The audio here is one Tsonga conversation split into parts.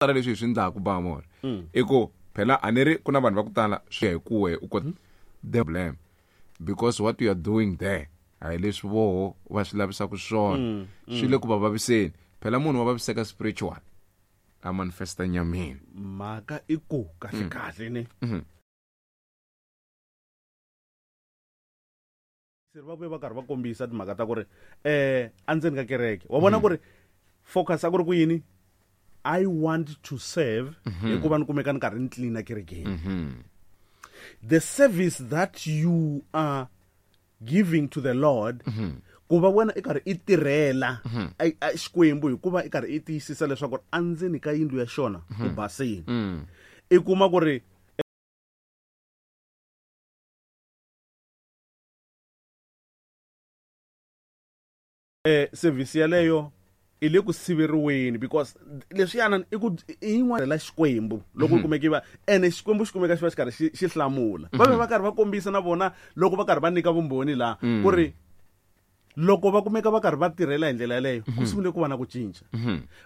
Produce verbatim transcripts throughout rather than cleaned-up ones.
Tala leswi hi swi endlaku bamor i ku phela a ni ri ku na vanhu va ku tala swi ya hi ku wehe u kota the blame because what you are doing there a hi leswi voho va swi lavisaka swona, swi le ku va vaviseni. Phela munhu wa vaviseka spiritual a manifesta nyameni. Mhaka i ku kahle kahle ne se va vuye va karhi va kombisa timhaka ta ku ri eh endzeni ka kereke wa vona ku ri focus a ku ri ku yini, I want to serve hikuva ni kumeka ni karhi ni clean kerekeni. The service that you are giving to the Lord, ku va wena i karhi i tirhela Xikwembu hikuva i karhi i tiyisisa leswaku endzeni ka yindlu ya xona ku basile. I kuma ku ri eh service yaleyo i le ku siveriweni because leswiyana i ku i yin'wana la Xikwembu loko mm-hmm. kumeka va ene Xikwembu xi kumeka xi va xi karhi xi hlamula. Va va karhi va kombisa na vona loko va karhi va nyika vumbhoni laha ku ri loko va kumeka va karhi va tirhela hi ndlela yaleyo ku sungule ku va na ku cinca.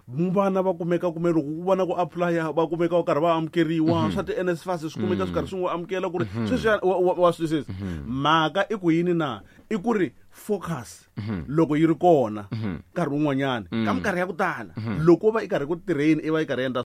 Vana va kumeka kume loko ku vona ku apply va kumeka va karhi va amukeriwa swa ti N S F A S swi kumeka swi karhi swi n'wi amukela ku ri sweswi wa swi twisisa. Mhaka i ku yini na i ku ri focus loko yi ri kona nkarhi wun'wanyana ka minkarhi ya ku tala loko va i karhi ku tirheni i va i karhi endla